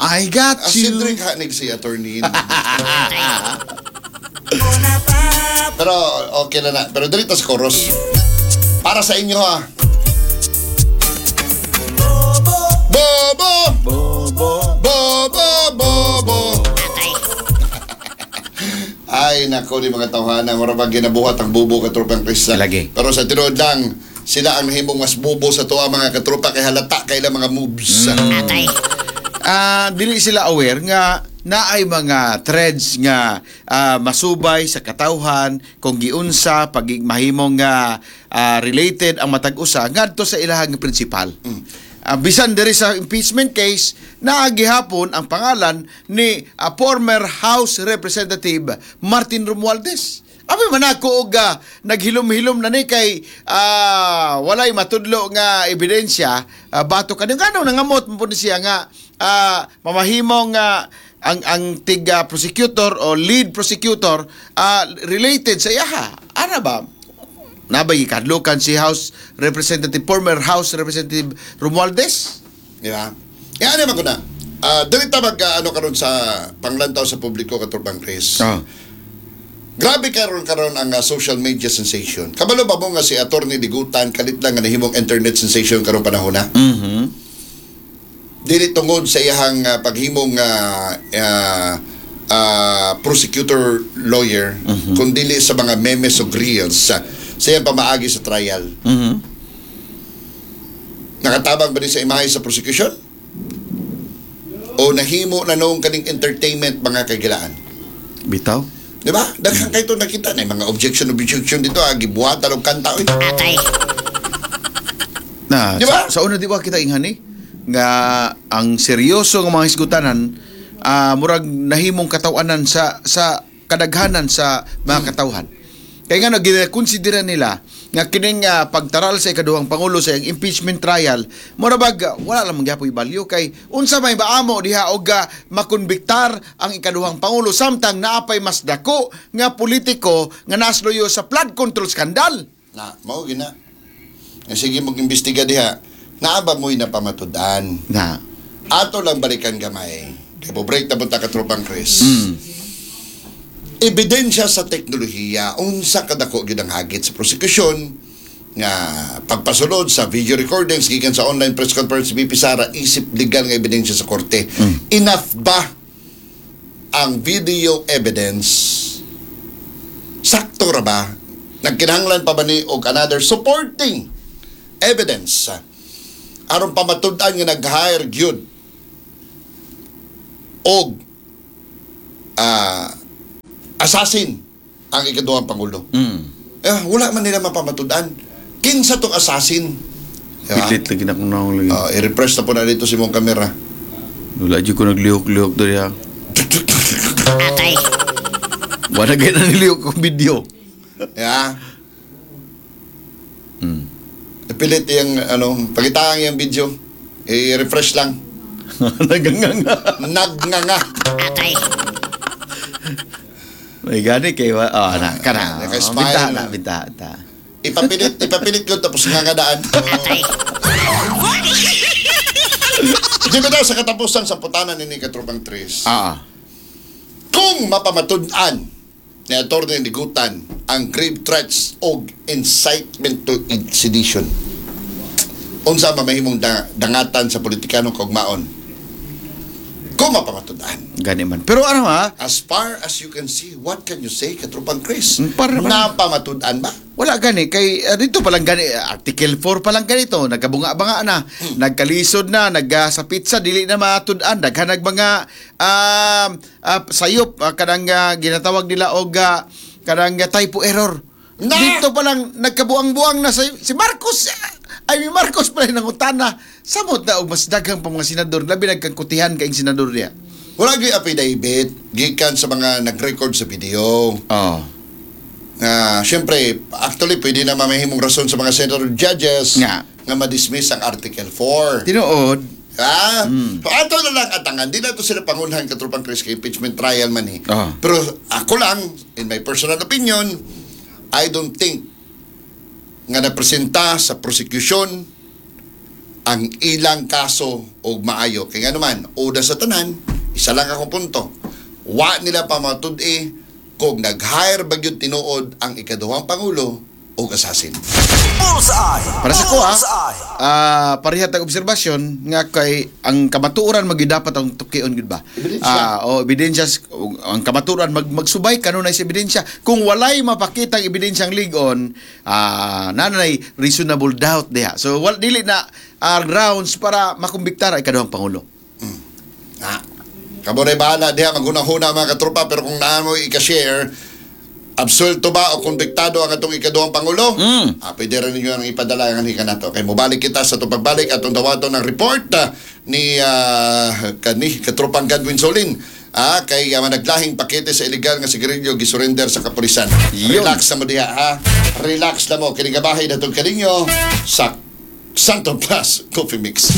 I got Ah, you. Cedric Hanig si attorney. Pero okay na na. Pero dito sa chorus. Para sa inyo ha. Bobo! Bobo. Bobo! Bobo! Ay, nako ni mga tawhana, mura ba ginabuhat ang bubo, katropang Chris. Lagi. Pero sa tinuod lang, sila ang nahimong mas bubo sa tuwa, mga katropa, kay halata kay ilang mga moves. Dili sila aware nga naay mga threads nga masubay sa katawhan kung giunsa pag mahimong nga related ang matag usa ngadto sa ilahang principal. Bisan diri sa impeachment case, naa gihapon ang pangalan ni former House Representative Martin Romualdez. Abi man ako og naghilom-hilom na ni kay walay matudlo nga ebidensya batok kani ngano nangamot mo po ni siya nga mamahimong ang tig prosecutor o lead prosecutor related sa iyaha. Ana ba? Nabay gikadlukan si House Representative, former House Representative Romualdez? Di ba? E ano man ko na? Dili ta mag ano karon sa panglantaw sa publiko, katropang Chris. Grabe karon karon ang social media sensation. Kabalo ba mo nga si Attorney Ligutan kalit lang nga nahimong internet sensation karong panahon na? Dili tungod sa iyahang paghimong prosecutor lawyer, kundili sa mga memes o reels sa iyang pamaagi sa trial. Nakatabang ba ni sa imahe sa prosecution? O nahimo na noong kaning entertainment, mga kagilaan? Bitaw. Di ba? Daghan kayo ito nakita na mga objection objection dito, ah, gibuhatan og kanta oy. Na, Di ba? sa una di ba kita inghan eh, nga ang seryoso nga mga hisgutanan murag nahimong katawanan sa kadaghanan sa mga katawhan. Kaya nga ginakonsidera nila nga kining pagtaral sa ikaduhang pangulo sa iyang impeachment trial mura bag wala lang gyapoy value kay unsa may maamo diha og makonbiktar ang ikaduhang pangulo samtang naapay mas dako nga politiko nga nasluyo sa flood control scandal. Na, mao gina. Eh, sige mag-imbestiga diha. Naa ba mo'y napamatud-an? Na. Ato lang balikan gamay. Kay break na punta, katropang Chris. Ebidensya sa teknolohiya, unsa kadako gyud ang hagit sa prosekusyon nga pagpasulod sa video recordings gikan sa online press conference ni VP Sara isip legal nga ebidensya sa korte. Enough ba ang video evidence? Sakto ra ba? Nagkinahanglan pa ba ni og another supporting evidence aron pamatud-an nga nag-hire gyud og assassin ang ikaduhang pangulo? Eh, wala man nila mapamatud-an. Kinsa tong assassin? Diba? Pilit lagi na kung naong lagi. I-refresh na po na dito si mong kamera. Wala jud ko naglihok-lihok diri ha. Wala gay na nilihok kong video. Yeah. Ipilit yung ano, pakitaan yung video. I-refresh lang. Naganganga. Nagnganga. May gani kay wa oh, na kana. Naka-smile. Binta na, binta ta. Ipapilit, ipapilit ko tapos ngangadaan. Di ba daw sa katapusan sa putanan ni Katropang Tris? Kung mapamatud-an ni Atty. Ligutan ang grave threats og incitement to sedition, unsa mamahimong dangatan sa politikanong kaugmaon? Kung mapamatud-an. Gani man. Pero ano ha? As far as you can see, what can you say, Katropang Chris? Para naman- Napamatud-an ba? Wala gani kay dito pa lang gani Article 4 pa lang ganito nagkabunga-banga na, nagkalisod na, nag sa pizza dili na matud-an, daghan nag mga sayop kanang ginatawag nila og kanang typo error. Na! Dito pa lang nagkabuang-buang na sa, si Marcos ay mi Marcos pa rin nangutana samot na og mas daghang pa mga senador, labi nagkangkutihan kaing senador niya. Wala gyud affidavit gikan sa mga nag-record sa video. Oh. Nga, syempre, actually, pwede na mamahimong rason sa mga senator judges Nga. nga ma-dismiss ang Article 4. Tinuod. Ha? So, ato na lang atangan. Di na to sila pangunhan, Katropang Chris, kay impeachment trial man eh. Pero ako lang, in my personal opinion, I don't think nga napresenta sa prosecution ang ilang kaso og maayo. Kay nga naman, una sa tanan, isa lang akong punto. Wa nila pamatud-i kung nag-hire ba gyud tinuod ang ikaduhang pangulo og assassin. Bullseye! Para sa ko Bullseye! pareha tag obserbasyon nga kay ang kamatuoran magyud dapat ang tukion gyud ba. Ebidensya. O ebidensya, ang kamatuoran magsubay kanunay sa ebidensya. Kung walay mapakitang ebidensyang lig-on, nanay reasonable doubt diha. So wal dili na grounds para makumbiktar ang ikaduhang pangulo. Na. Kamo na bahala diha maghuna-huna, mga katropa, pero kung naa mo ika-share, absuelto ba o konbiktado ang atong ikaduhang pangulo? Pwede rin ninyo ang ipadala ang hika nato. Kay mobalik kita sa atong pagbalik atong dawaton ng report ni kani katropang Godwin Solin. Kay naglahing pakete sa illegal nga sigarilyo gisurrender sa kapulisan. Yun. Relax na mo diha ha. Relax na mo kini gabahay datong kaninyo sa Santo Plus Coffee Mix.